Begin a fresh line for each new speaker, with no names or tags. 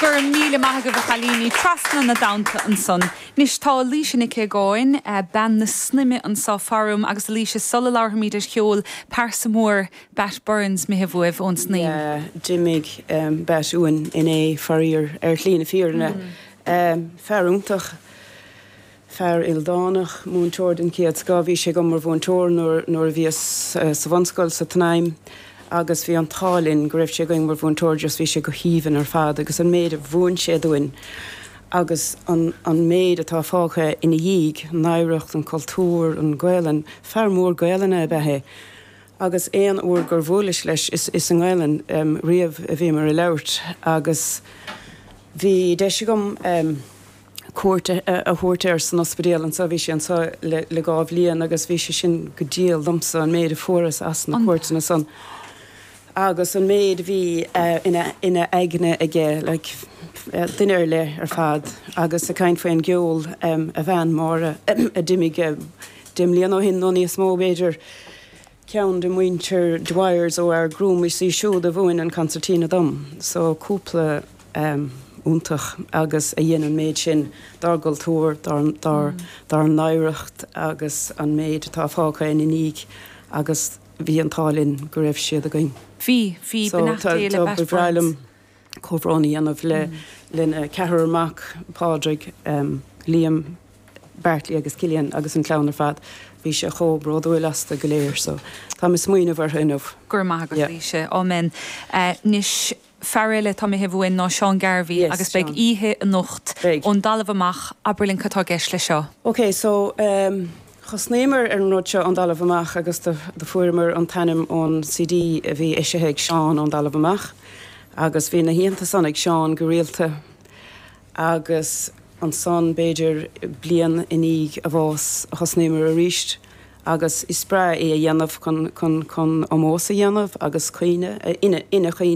Go raibh míle maith agaibh a chailíní, trasna na dtonnta ansan. Anois tá Laoise Nic Aogáin, bean na Snaidhme anseo faram agus a Laoise sula labharfaimid ar cheol, pearsa mór Bat Burns imithe uaibh ón Snaidhm.
Yeah, d'imigh Bat uainn inné, faraor, ar shlí na fírinne. Fear iontach. Fear ildánach, múinteoir den chéad scoth. Bhí sé agam mar mhúinteoir nuair a bhíos sa bhunscoil sa tSnaidhm agus bhí an t-ádh linn go raibh sé againn mar mhúinteoir just bhí sé go haoibhinn ar fad agus an méid a mhúin sé dúinn agus an an méid atá fágtha ina dhiaidh, an oidhreacht, an cultúr, an Ghaelainn. Fear mór Gaelainne ab ea é agus aon uair gur bhuaileas leis is i nGaelainn riamh a bhíomar ag labhairt agus bhí deis agam cuairt a thabhairt air san ospidéal anseo. Bhí sé anseo le le dhá bhliain agus bhí sé sin go diail domsa, an méid a fuaireas as na cuairteanna san agus an méid a bhí ina ina aigne aige, like, duine ar leith ar fad agus ag caint faoin gceol, a bhean Máire a d'imigh 10 mbliana ó shin nó níos mó b'fhéidir. Ceann de mhuintir Dwyers ó Ard Gruaim, is í siúd a mhúin an concertina dom. So cúpla iontach agus a dhein an méid sin dár gcultúr, dár dár n-oidhreacht agus an méid atá fágtha ina ndiaidh agus bhí an t-ádh linn go raibh siad againn.
Bhí, bhí, beannacht Dé le
Ba bhreá liom comhbhrón a dhéanamh le lena ceathrar mac, Pádraig, Liam, Bartley agus Cillian agus an chlann ar fad. Bhí sé chomh bródúil astu go léir so táim ag smaoineamh orthu inniu.
Go raibh maith agat Laoise. Amen. Anois fear eile atá imithe uainn ná Seán Garvey
Yes,
agus beidh
Seán.
oíche anocht
Beidh.
ón dtalamh amach. Abair linn cad tá i gceist leis seo.
Ok so thosnaíomar ar an rud seo ón dtalamh amach agus do do fuaireamar an t-ainm ón CD a bhí eisithe ag Seán ón dtalamh amach agus bhí na hoícheanta san ag Seán go rialta Agus ansan, b'fhéidir bliain i ndiaidh a bhás, thosnaíomar arís agus is breá é a dhéanamh chun, chun, chun ómós a dhéanamh agus cuimhne, ina, ina chuimhne.